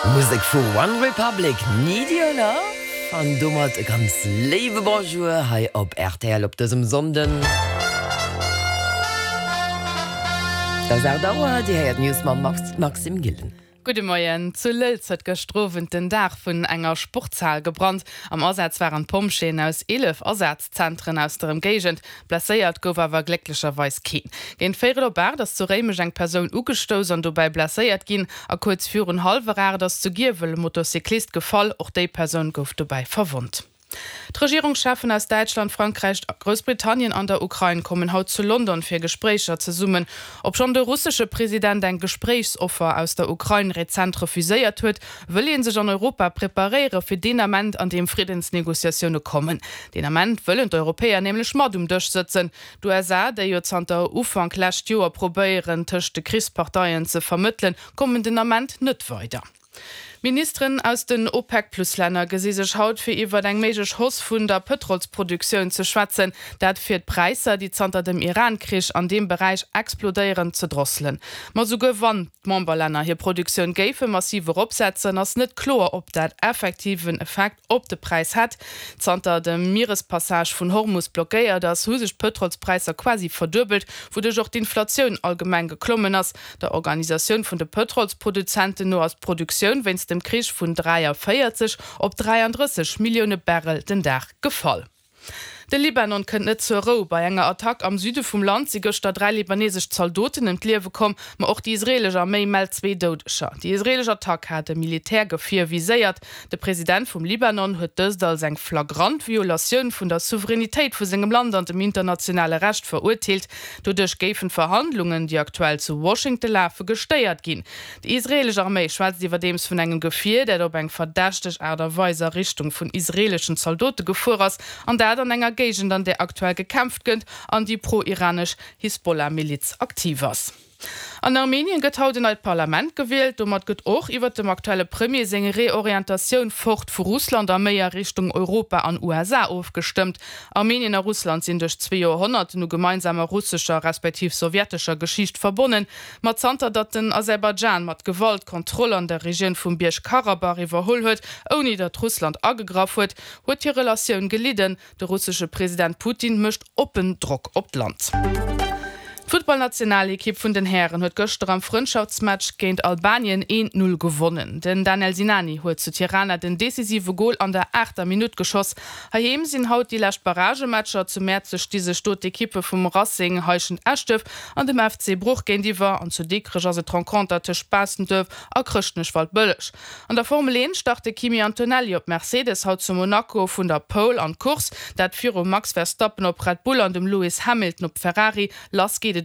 Musek vu One Republic, Need Your Love. An domat e ganz léiwe Bonjour hei op rtl op dësem Sonnden. Et ass 8 Auer, Dir héiert d'News mam Maxime Gillen. Gudde Moien. Zu Lëlz huet gëschter Owend den Daach vun enger Sportshal gebrannt. Am Asaz waren d'Pompjeeën aus 11 Asazentren aus der Ëmgéigend. Blesséiert gouf awer glécklecherweis keen. Géint véierel op 8 ass zu Réimech eng Persoun ugestouss an dobäi blesséiert ginn. A kuerz virun hallwer 8 ass zu Giewel e Motocyclist gefall. Och déi Persoun gouf dobäi verwonnt. D'Regierungscheffen aus Däitschland, Frankräich, Groussbritannien an der Ukrain kommen haut zu London fir Gespréicher zesummen. Obschonn de russesche President eng Gespréichsoffer aus der Ukrain rezent refuséiert huet, wëll ee sech an Europa preparéiere fir deen Ament, an deem Friddensnegociatioune kommen. Deen Ament wëllen d'Europäer nämlech mat um Dësch sëtzen. D'USA, déi jo zanter Ufank lescht Joer probéieren, tëscht de Krichsparteien ze vermëttelen, kommen den Ament net weider. Ministeren aus den OPEC-Plus-Länner gesi sech haut fir iwwert eng méiglech Hausse vun der Pëtrolsproduktioun ze schwätzen. Dat fir d'Präisser, déi zanter dem Iran-Krich an deem Beräich explodéieren, ze drosselen. Ma souguer wann d'Memberlänner hir Produktioun géife massiv eropsetzen, ass net kloer, ob dat effektiv en Effekt op de Präis hätt. Zanter de Mierespassage vun Hormus blockéiert ass, hu sech d'Pëtrolspräisser quasi verduebelt, wouduerch och d'Inflatioun allgemeng geklommen ass. Der Organisatioun vun de Pëtrolsproduzenten no ass d'Produktioun wéinst dem Krich vun 43 op 33 Millioune Barrel den Dag gefall. De Libanon kënnt net zur Rou. Bei enger Attack am Süde vum Land si gëschter 3 libanesesch Zaldoten ëm d'Liewe komm, ma och déi israeelesch Arméi mellt zwee Doudeger. Déi israeelesch Attack hat e Militärgefier viséiert. De President vum Libanon huet dëst als eng flagrant Violatioun vun der Souveränitéit vu sengem Land an dem internationale Recht verurteelt. Doduerch géifen d'Verhandlungen, déi aktuell zu Washington lafen, gestéiert ginn. Déi israeelesch Arméi schwätzt iwwerdeems vun engem Gefier, dat op eng verdächteg Aart a Weis a Richtung vun israeeleschen Zaldote gefuer ass, an dat an enger Géigend, an där aktuell gekämpft gëtt an déi pro-iranesch Hisbollah-Miliz aktiv ass. An Armenien gëtt haut en neit Parlament gewielt. Domat gëtt och iwwer dem aktuelle Premier seng Reorientatioun fort vu Russland a méi a Richtung Europa an USA ofgestëmmt. Armenien a Russland sinn duerch zwee Joerhonnerten u gemeinsamer russescher respektiv sowjetescher Geschicht verbonnen. Ma zanter datt den Aserbaidschan mat Gewalt d'Kontroll an der Regioun vum Bierg-Karabach iwwerholl huet, ouni datt Russland agegraff huet, huet hir Relatioun gelidden. De russesche President Putin mécht oppen Drock op d'Land. D'Futtballnationalekipp vun den Hären huet gëschter am Frëndschaftsmatch géint Albanien 1, 0 gewonnen. Den Danel Sinani huet zu Tirana den decisive Gol an der aachter Minutt geschoss. Heiheem sinn haut déi lescht Barragematcher. Zu Mäerzeg sti sech do d'Ekippe vum Racing Heischent-Eschduerf an dem FC Bruch géintiwwer an zu Dikrech ass et d'Renconter tëscht Baastenduerf a Chrëschtnech-Waldbëlleg. An der Formel 1 start de Kimi Antonelli op Mercedes haut zu Monaco vun der Pole an d'Course, dat virum Max Verstappen op Red Bull an dem Lewis Hamilton op Ferrari. Lass geet et.